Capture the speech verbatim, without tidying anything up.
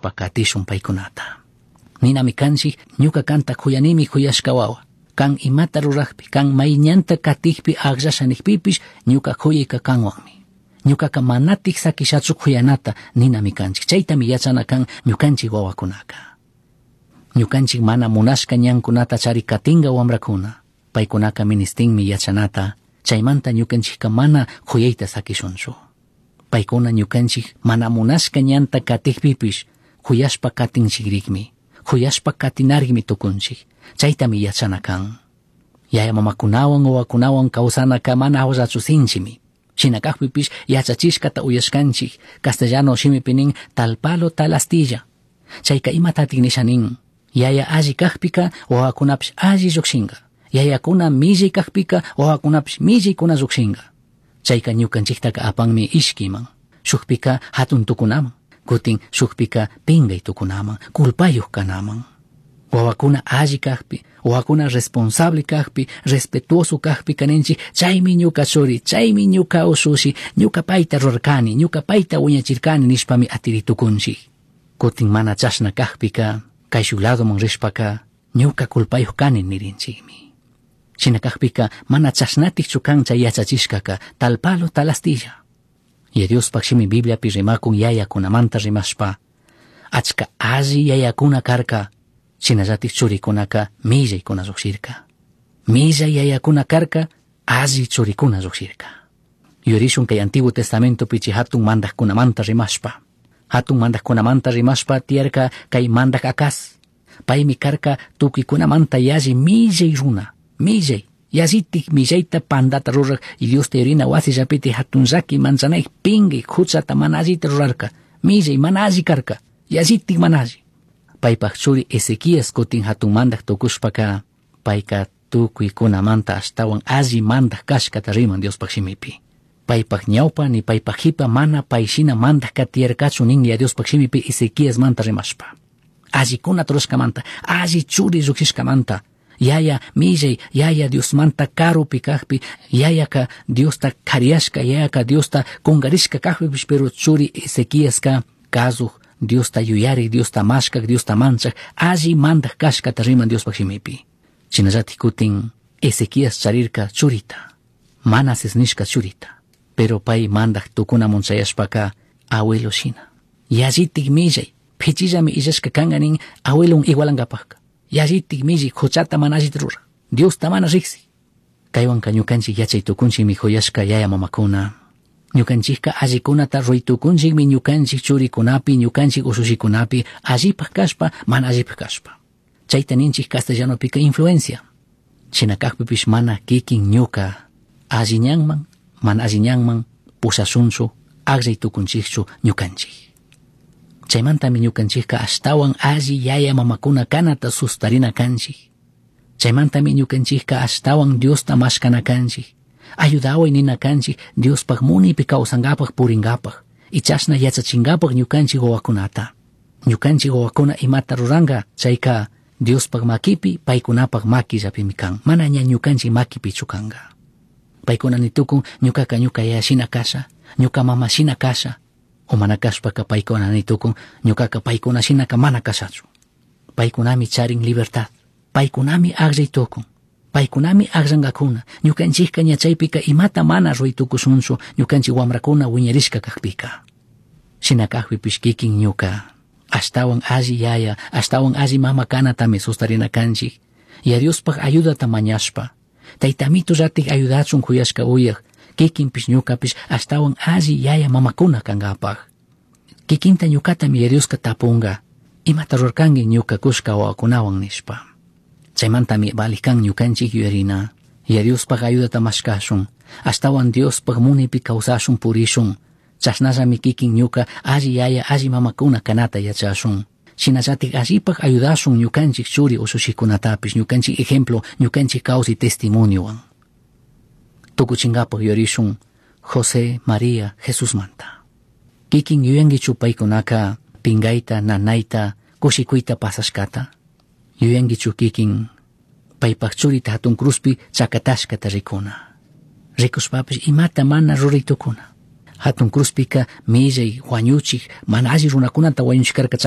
Katishun paykunata. Ninami kanchik ñuka kanta kuyanimi kuyashka wawa. Kan imata rurajpi, kan mayñanta katikpi akllasha nikpipish ñuka kuyayka kanwanmi. Ñukaka manatik sakishachu kuyanata ninami kanchik. Chaytami yachana kan ñukanchik wawakunaka. Ñukanchik mana munashka ñankunata chari katinga wamrakuna. Paykunaka ministinmi yachanata, chaymanta ñukanchikka mana kuyayta sakishunchu. Paykuna ñukanchik mana munashka ñanta katikpipish kuyashpa katinchikrikmi, kuyashpa katinarikmi tukunchik. Chaytami yachana kan. Yaya mamakunawan wawakunawan kawsanaka mana hawllachu sinchimi. Shina kakpipish yachachishkata uyashkanchik, castellano shimipi nin tal palo tal astilla. Chayka imatatik nisha nin, yaya alli kakpika wawakunapish alli llukshinka. Yayakuna millay kakpika wawakunapish millaykuna llukshinka. Chayka ñukanchiktaka apanmi ishkiman, shukpika hatun tukunaman, kutin shukpika pingay tukunaman, culpayuq kanaman. Wawakuna alli kakpi, wawakuna responsable kakpi, respetuoso kakpi kaninchik, chaymi ñuka churi, chaymi ñuka ushushi, ñuka payta rurarkani, ñuka payta wiñachirkani nishpami atiritukunchik. Kutin mana chashna kakpika, kayshuk ladoman rishpaka, ñuka culpayuq kani nirinchikmi. Shina kakpika mana chashnatikchu kan chay yachachishkaka, tal palo tal astilla. Y Diospaq shimi Bibliapi rimakun yayakunamanta rimashpa, achka alli yayakuna karka, shinallatik churikunaka millaykuna lluqshirka. Millay yayakuna karka, alli churikuna lluqshirka. Yurishun kay Antiguo Testamentopi chay hatun mandaqkunamanta rimashpa. Hatun mandaqkunamanta rimashpa tiyarka kay mandaq Acaz. Paymi karka tukuykunamanta yalli millay runa, millay, yallitik millayta pandata ruraq y Diosta yurina wasillapiti hatun llaki manchanayk pingay huchata mana allita rurarka, millay mana alli karka, yallitik mana alli. Paypaq churi Ezequías kutin hatun mandaq tukushpaka, payka tukuykunamanta ashtawan alli mandaq kashkata riman Diospaq shimipi. Paypaq ñawpa ni paypaq qipa mana payshina mandaq tiyarkachu nin ya Diospaq shimipi Ezequías manta rimashpa. Allikunata rurashkamanta, alli churi lluqshishkamanta, yaya millay, yaya Diosmanta karupi kakpi, yayaka Diosta kariyashka, yayaka Diosta kungarishka kakpipish, pero churi Ezequiaska kasuq, Diosta yuyarik, Diosta mashkak, Diosta manchak, alli mandaq kashkata riman Diospaq shimipi. Shinallatik kutin Ezequías charirka churita, Manases nishka churita, pero pay mandaq tukunamun chayashpaka abuelo shina. Yallitik millay, pichillami illashka kanka nin abuelon igualankapajka. Yallitik millay huchata mana allita ruraq, Diosta mana riqsi. Kaywanka ñukanchik yachay tukunchikmi kuyashka yaya mamakuna. Ñukanchikka allikunata ruray tukunchikmi ñukanchik churikunapi, ñukanchik ushushikunapi, allipaq kashpa, mana allipaq kashpa. Chayta ninchik castellanopika influencia. Shina kakpipish mana kikin ñuka alli ñanman, mana alli ñanman pushashunchu, akllay tukunchikchu ñukanchik. Chaymantami ñukanchikka ashtawan alli yaya mamakuna kanata sustarina kanchik. Chaymantami ñukanchikka ashtawan Diosta mashkana kanchik. Ayudaway nina kanchik Diospaq munipi kawsankapaq purinkapaq. Y chashna yachachinkapak ñukanchik wawakunata. Ñukanchik wawakuna imata ruranka chayka Diospaq makipi paykunapaq makillapimi kan. Mana ña ñukanchik makipichu kanka. Paykuna nitukun ñukaka ñuka yaya shina kasha, ñuka mama shina kasha. O mana kashpaka paykuna nitukun ñukaka paykuna shinaka mana kashachu. Paykunami charin libertad. Paykunami akllay tukun. Paykunami akllankakuna. Ñukanchikka ña chaypika imata mana ruray tukushunchu ñukanchik wamrakuna wiñarishka kakpika. Shina kakpipish kikin ñuka ashtawan alli yaya, ashtawan alli mama kanatami sustarina kanchik. Ya Diospaq ayudata mañashpa. Taytamito llatik ayudachun kuyashka uyaq, kikinpish ñukapish ashtawan alli yaya mamakuna kankapaq. Kikinta ñukatami ya Dioska tapunga, imata rurkanki ñuka kushka wawakunawan nishpa. Chaymantami valik kan ñukanchik yuyarina, ya Diospaq ayudata mashkashun, ashtawan Diospaq munipi kawsashun purishun, chashnallami kikin ñuka alli yaya alli mamakuna kanata yachashun. Shinallatik allipaq ayudashun ñukanchik churi ushushikunatapish, ñukanchik ejemplo, ñukanchik kawsay testimoniowan. Tukuchinkapaq yuyarishun José, María, Jesusmanta. Kikin yuyankichu paykunaka pingayta, nanayta, kushikuyta pasashkata. Yuyankichu kikin paypaq churita hatun cruzpi chakatashkata rikuna. Rikushpapish imata mana ruray tukuna. Hatun cruzpika millay huañuchik mana alli runakunata wañuchik karka.